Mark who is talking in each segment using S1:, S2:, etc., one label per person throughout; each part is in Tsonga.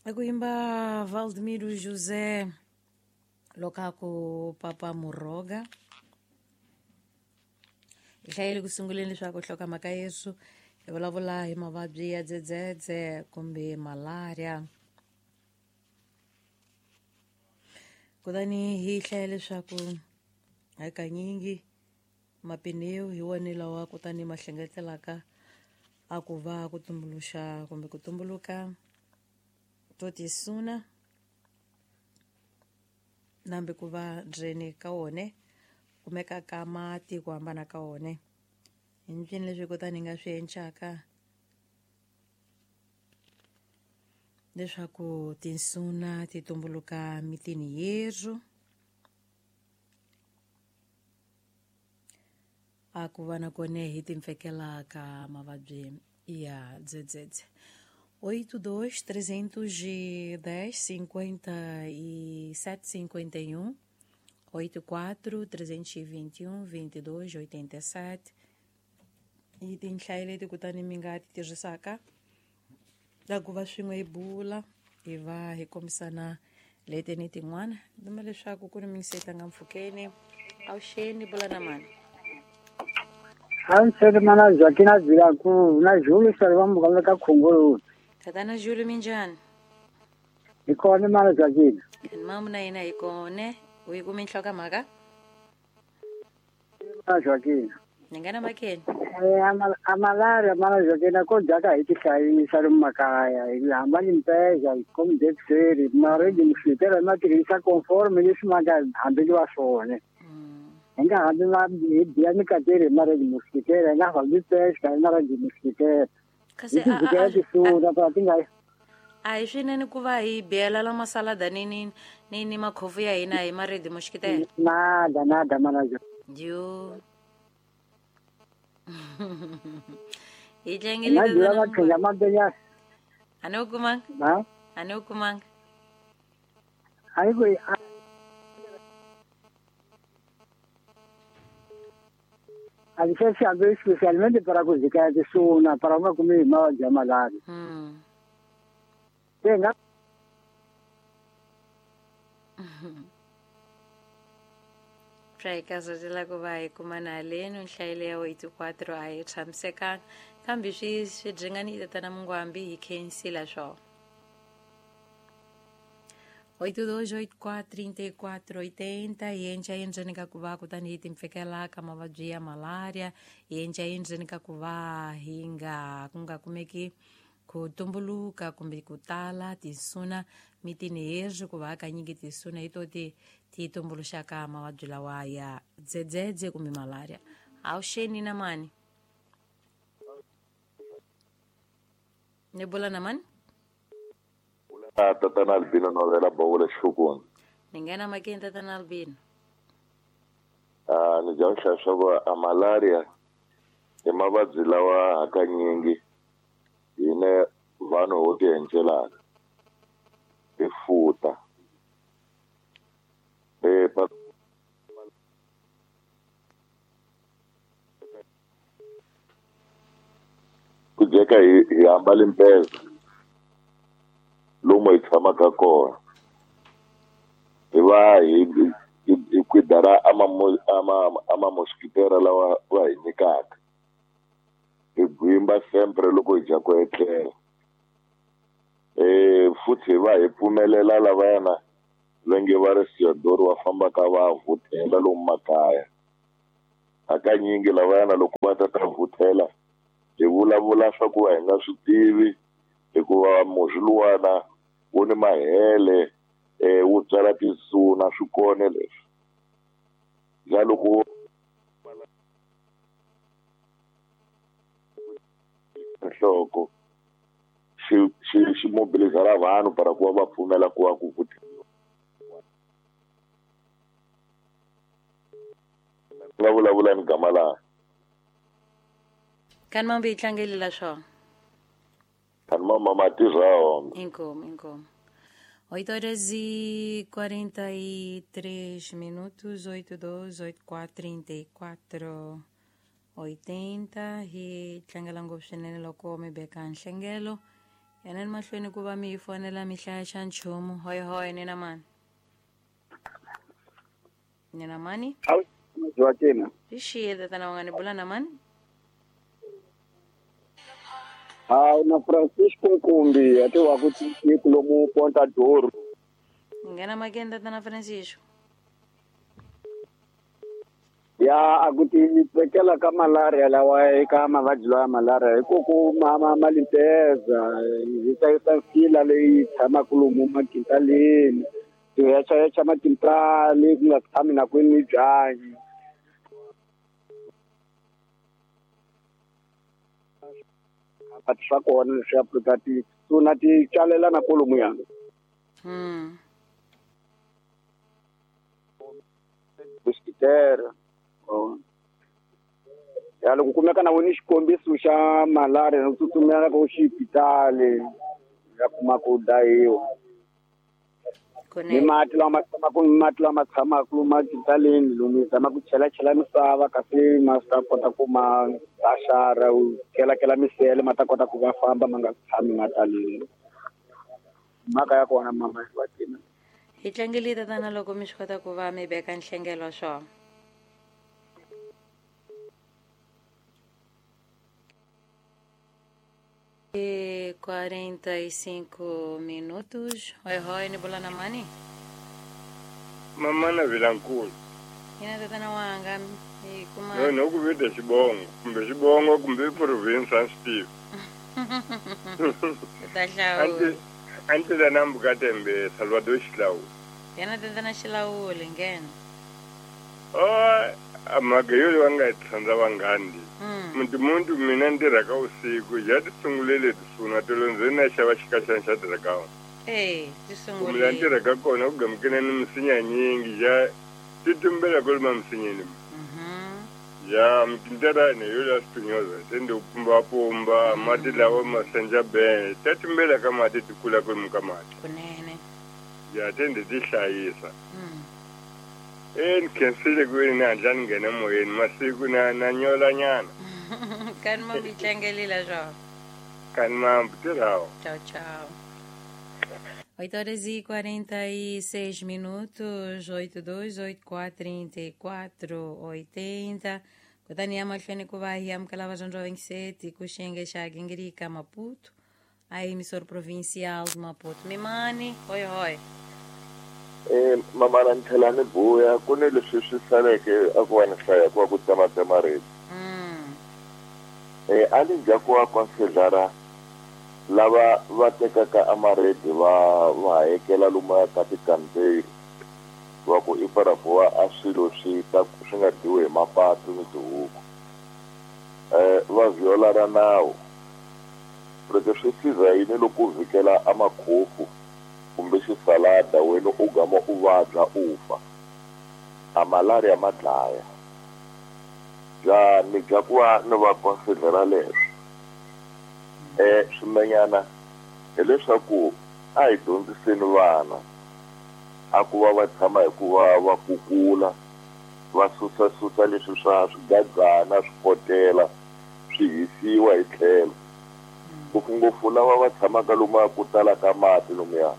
S1: Akuimba Valdemiro José Lokaku Papa Muroga. Hi hlayile ku sunguleni leswaku nhlokomhaka Yesu hi vulavula hi mavabyi ya dzedzedze kumbe malaria. Kutani hi hlaya leswaku hakanyingi mapineu hi wona lawa kutani ma hlengetelaka a ku va ku tumbuluxa kumbe ku tumbuluka to tisuna nambe ku va ndzeni ka wone kumeka ka mati ku hambana ka wone hi ncini leswi kutani hi nga swi encaka leswaku tinsuna ti tumbuluka mitini yerhu a ku va na kone hi timpfekela ka mavabyi ya dzedzedze. 82 310 57 51 84 321 22 87 i tinhlayo leti kutani mi nga ti tirhisaka ta ku va swin'we hi bula hi va hi kombisana leti ni tin'wana duma leswaku ku ni mingiseta nga mpfhukeni avuxeni bula na mani.
S2: A mana Joaquina Vilaku na Júlio Salvamo ka Khongolo.
S1: Tatana Júlio minjhani?
S2: Hi kona mana Joaquina.
S1: Mamu na yena hi kone u yi kumi nhlokomhaka?
S2: Mana Joaquina.
S1: Ni nga na makeni.
S2: A malaria mana Joaquina ko dyaka hi tihlayisa lomu makaya hi hamba ni mpeza hi komdexeri maredi mosquitera ma tirhisa conforme leswi ma nga hambeliwa swona. Hi nga hambi ma hi biya mikateri hi maredi mosquitera hi nga fambi pesca hi maredi mosquitera.
S1: Kasi
S2: Hi ti tisuna pa ti nga
S1: a hi swinene ku va hi biyela la masalada ni makhofu ya hina hi maredi moxikitela.
S2: Nada nada mana Joaquina.
S1: Yo. Hi
S2: Hi
S1: tlangele
S2: nga byela
S1: tatana
S2: maqhinga
S1: Mungwambi.
S2: mambenya
S1: A ni wu kumanga?
S2: ha
S1: A ni wu kumanga?
S2: a yi ku a se se hambi especialmente para ku zikaya tisuna para u nga kumi hi mavabyi ya malaria. Se hi nga
S1: Swa hi karhatela ku va hi kuma na haleni nhlayo ya 84 a yi tshamisekanga kambe swi dringani tatana Mungwambi hi khensile swona. 82 84 34 80 hi enca endzeni ka ku va kutani hi timpfekela ka mavabyi ya malaria hi enca endzeni ka ku va hi nga ku nga kumeki ku tumbuluka kumbe ku tala tinsuna mitini hezwi ku va hakanyingi tinsuna hi to ti ti tumbuluxaka mavabyi lawa ya dzedzedze kumbe malaria. Avuxeni na mani? Ni bula na mani?
S3: Tatana Albino Novela Bawula Xukuni.
S1: Ni nghena makeni tatana Albino.
S3: Ni bya hlaya swa ku a malaria i mavabyi lawa hakanyingi hine vanhu ho ti encelaka hi futa ku dyeka hi hambale mpeza lomu hi tshamaka kona hi va hi kwidara ama mosquitera lawa va hi nyikaka hi gwimba sempre loko hi dya ku etlela futhi hi va hi pfumelela lavayana va nge va ri siyodoro va fambaka va vuthela lomu makaya hakanyingi lavayana loko va ta ta vuthela hi vulavula swa ku va hi nga swi tivi hikuva murhi luwana wu ni mahele wu byala tinsuna swi kone leswi ja loko nhloko xi mobilizara vanhu para ku va va pfumela ku va ku vutheliwa nga vulavula ni gama laha
S1: Kani mambe hi tlangelela swona.
S3: Kani mama ma tirha wona.
S1: Inkomu, inkomu. 8 horas e 43 minutos, 82, 84, 34, 80. Hi tlangela ngopfu swinene loko mi beka nhlengelo. Yanani mahlweni ku va mi hi fonela mi hlaya xa nchumu. Hoy hoy nina mani. Nina mani?
S2: Joaquina.
S1: Hi xiye tatana wanga ni bula na mani?
S2: Na Francisco Nkumbi ati wa ku tiko lomu Ponta Doro.
S1: Nghena makeni tatana Francisco.
S2: Ya a ku ti vekela ka malaria lawa eka mavabyi lawa ya malaria hi ku ku ma limpeza hi hlayisa fila leyi tshamaka lomu makintaleni ti hechahecha makintali ku nga tshami na kwini byanyi. But swa kona leswi Afrika ti tuna ti tswalelana kolomuya. Mosquitaire. Ya loko kumeka na wena xikombiso xa malaria u tsutsumela ka xipitali ya kuma ku dayiwa. Ni mati lama tshamaka makintaleni lomu zama ku chelachela misava kasi ma ta kota ku ma baxara u kelakela misele ma ta kota ku va famba ma nga tshami ma taleni. Mhaka ya kona mama Joaquina.
S1: Hi tlangele tatana loko mi swi kota ku va mi veka nhlengelo swona. E 45 minutos. Oi, hoi, ni bula na mani?
S4: Mamana Vilankulu.
S1: Ina tatana wanga hi kuma.
S4: No, no ku vita xibongo, kumbe xibongo kumbe province a swi tivi.
S1: Ta hlawula.
S4: Anti la nambuka tembe Salvador Xilawuli.
S1: Yena tatana Xilawuli nghena.
S4: Oh, mhaka yo va nga hi tsandza vanghani. Muntu mina ni tirhaka vusiku ya ti sungulele tisuna tolo ndzi na xava xikaxana xa tirhaka.
S1: Ti sungulele.
S4: Kumbe la ni tirhaka kona ku gamukene ni misinya nyingi ya ti tumbela kwaloma misinyeni. Ya mkinterane yo la spinyoza tende upumba pumba mati lawa masenja ben ta tumbela ka mati ti kula kwalomu ka mati.
S1: Kunene.
S4: Ya tende ti hlayisa. Ni khensile ku ni hatla ni nghena moyeni masiku na nyolanyana.
S1: Kani ma mi tlangelela swona.
S4: Kani mambu tirhawo.
S1: Tchau, tchau. 8h46 minutos, 82 84 34 80. Kutani ya mahlweni ku va hi amukela vadyondzi va 27 ku xiyenge xa Gingirika Maputo, a emissora provincial de Maputo. Mimani, hoi hoi.
S3: Mamana ni tlhela ni buya ku ni leswi swi saleke a ku va ni hlaya ku va ku tsematsema reti. A ni dya ku va considera lava va tekaka amaredi va hakela lomu ka tikampeini va ku i para ku va a swilo swi ta swi nga dyiwi hi mapatu ni tihuku. Va viola ra nawu loko swi siza yini loko u vhikela a makhofu kumbe xisalada wena u gama u vabya u fa. A malaria ma dlaya. Ja ni dya ku va ni va considera leswi. Swimenyana hileswaku a hi dyondziseni vana a ku va va tshama hi ku va va kukula va susasusa leswi swa swigagana swikotela swi hisiwa hi tlhelo. Ngopfungopfu lava va tshamaka lomu ku tala ka mati lomuya.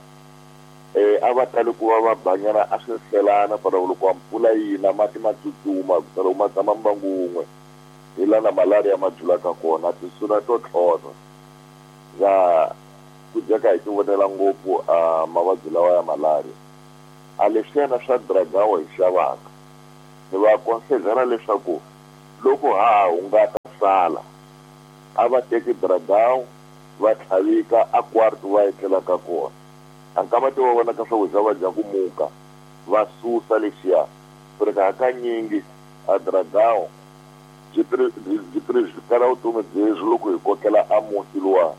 S3: A va tali ku va va banyana a swi hlelana para loko wa mpfula yina mati ma tsutsuma ku tala ma tshama mbangu wun'we hi la na malaria ma julaka kona tisuna to tlhontlha. Ya ku dyaka hi ti vonela ngopfu a mavabyi lawa ya malaria. A leswiyana swa dragawa hi xavaka ni va considera leswaku loko ha hungata sala a va teki dragawa va tlhavika a kwarto va etlelaka kona. A nkama ti va vonaka swakudya va dya ku muka va susa lexiya ku hakanyingi a dragawa byi kala vutomi byebyi loko hi kokela a muti luwa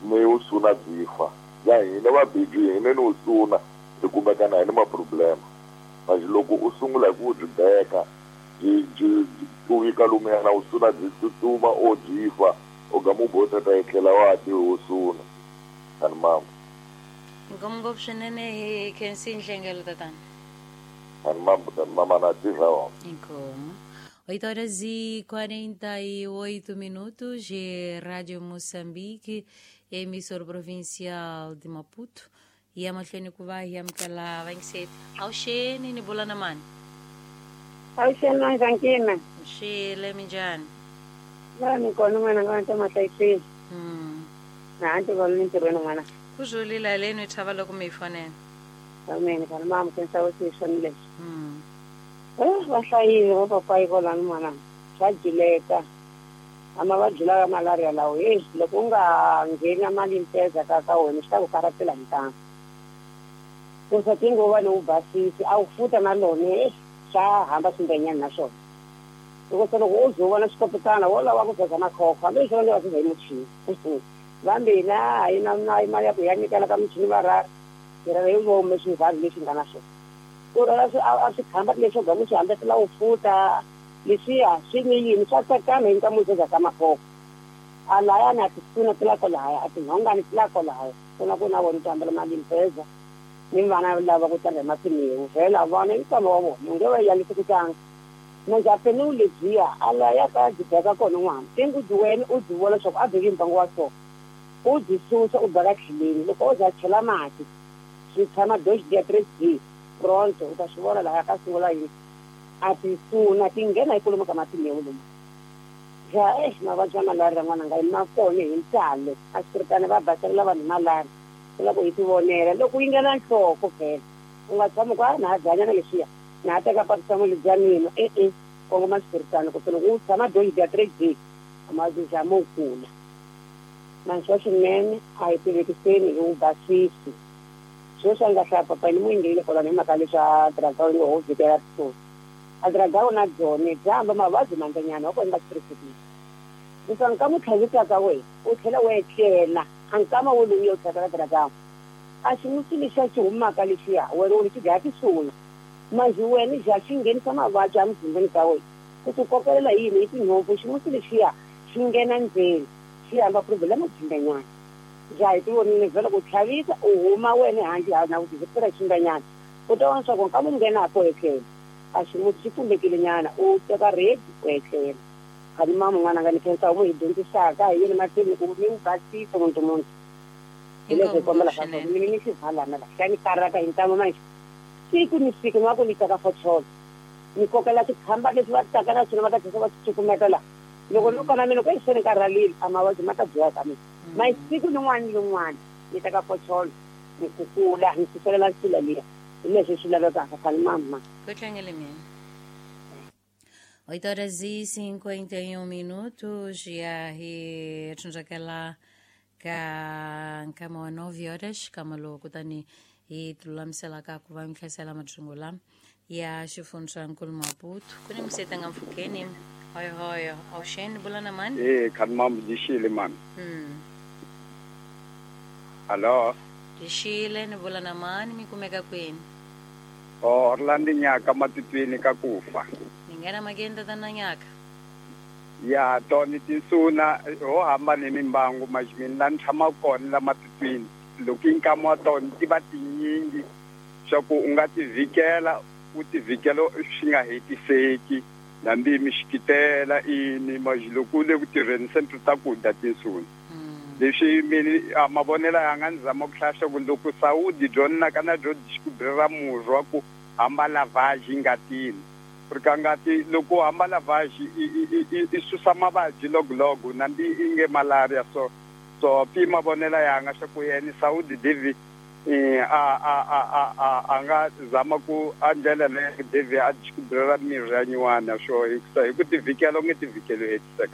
S3: ni wu suna byi fa. Ya hina vabiji hina ni wu suna hi kumekana hi ni maproblema. Manje loko u sungula hi ku byi beka byi tuvika lumuyana wu suna byi tsutsuma o byi fa u gama u bota ta etlela wa ti wu suna. Kani mama.
S1: Inkomu ngopfu swinene hi khensi nhlengelo tatana.
S3: Kani mama, mama na tirha wa.
S1: Inkomu. 8h48 minutos, Rádio Moçambique. Emissora provincial de Maputo. Hi ya mahlweni ku va hi amukela vayingiseri. Awuxeni, ni bula na mani?
S5: Awuxeni Manjankina.
S1: Xile, minjhani?
S5: La ni kona n'wana nga ta mahlayiseni. Na hanti va ni ntirhweni n'wana.
S1: Ku zulile leni hi chava loko mi yi fonela.
S5: Amen, kana mama khensa wo swi leswi. Va hlayile va papayi kolani n'wana. Swa jileka. A mavabyi lawa ya malaria lawo heyi loko u nga ngheni mali mpeza ka ka wena swi ta ku karhatela ntamu. Kusa tinguva ni u basisi a wu futa na lona swa hamba swimbenyana na swona. Loko se loko u ze u vona swikopetana wo lava ku zaza makhokho hambi leswi va nge va suza hi muchini. Vambe hina a yi na na mali ya ku ya nyikela ka muchini va ra hi ra hi vomu swivhazi leswi nga na swona. Ku rhwala swi a swi khamba leswo gamu swi hambetela u futa leswiya swi ni yini swa tsakama hi nkamu zaza ka makhokho. A layani a tisuna ti la kolahaya a tinhongani ti la kolahaya ku na ku na vona ti hambela mali mpeza. Ni vana lava ku tlanga hi mapiniwu vhela vona i nkwama wa vona u nge va yalisi ku tlanga. Manjhe lebyiya a laya ka byi beka kona n'wana tingu byi wena u byi vona leswaku a beki mbangu wa so u byi susa u beka tlheleni loko o za chela mati swi tshama dox dia 3 d pronto u ta swi vona lahaya ka sungula yini a ti suna ti nghena hi kolomo ka mapiniwu lomu. Ja mavabyi ya malaria n'wana nga ma kona hi ntalo a swiritana va baselela vanhu malaria. Loko hi tivonela loko yi nghena nhloko vhela u nga tshami ku a na ha byanyana leswiya na ha teka paracetamol bya mina e-e kongoma swiritano ku loko u tshama dox dia 3 d mavabyi ja mo kula. Manxwa swinene a hi tivekiseni hi wu basisi. Sweswi a nga hlaya papa ni mu yingelile kwalano hi mhaka leswi a dragawu yi ngo ho vhikela risuku. A dragawu na byone bya hamba mavabyi mandzanyana wa kona va swi leswaku nka mu tlhavisaka wena u tlhela u etlela a nkama wo lowu u tlhavela dragawu a ximusi lexiya xi humaka lexiya wena u xi dlaya tisuna manjhe wena ja xi nghenisa mavabyi emuzimbeni ka wena ku ku kokelela yini hi tinhompfu ximusi lexiya xi nghena ndzeni xi hamba problem jimbanyana. Ja hi tivonile vhela ku tlhavisa u huma wena handle ha na ku tivekela ximbanyana u ta vona leswaku nka mu nghena ko etlela a ximusi xi pfumbekile nyana u teka redi u etlela. Khani mama n'wana nga ni khensa u hi dyondzisaka hi yini mahlweni ku mi basisa muntu muntu. Hi leswi hi kombelaka swona mina ni xivalana la xa ni karhata hi ntamu manje siku ni siku ni va ku ni teka focholo ni kokela tikhamba leswi va taka na swona va ta tlhela va swi cukumeta la loko no kona mina ku se ni karhalile a mavabyi ma ta dyiwa ka mina ma siku nin'wana ni rin'wana ni teka focholo ni kukula ni suselela nsila liya hi leswi swi lavekaka khani mama.
S1: Ku tlangele mina. 8h51 ya hi tsundzuxela ka nkama wa 9 horas kama lowu kutani hi tilulamiselaka ku va mi hlayisela madzingo lama ya xifundzankulu Maputo. Ku ni museta nga mpfhukeni hoyohoyo awuxeni bula na mani?
S6: Khani mama dixile mani. Alo.
S1: Dixile, ni bula na mani, mi kumeka kwini?
S6: Orlando Nyaka matitweni ka kufa.
S1: Ni nghena makeni tatana Nyaka.
S6: Ya toni tinsuna ho hamba ni mimbangu majimini la ni tshamaka kona la matitweni loko i nkama wa tona ti va tinyingi swa ku u nga ti vhikela u ti vhikela swi nga hetiseki hambi mi xikitela ini maji loko u le ku tirheni se ni ta ku dya tinsuna. Leswi mina a mavonelo ya nga ni zama ku hlaya swa ku loko Saudi byo naka na byo ra murhi wa ku hamba lavage ngatini ri ka ngati loko u hamba lavage i susa mavabyi logologo nambi i nge malaria so so pi mavonelo ya nga swa ku yena Saudi David a nga zama ku a ndlela leyi David a ra mirhi ya nyuwana swo hi ku tivhikela u nge tivhikeli u hetiseka.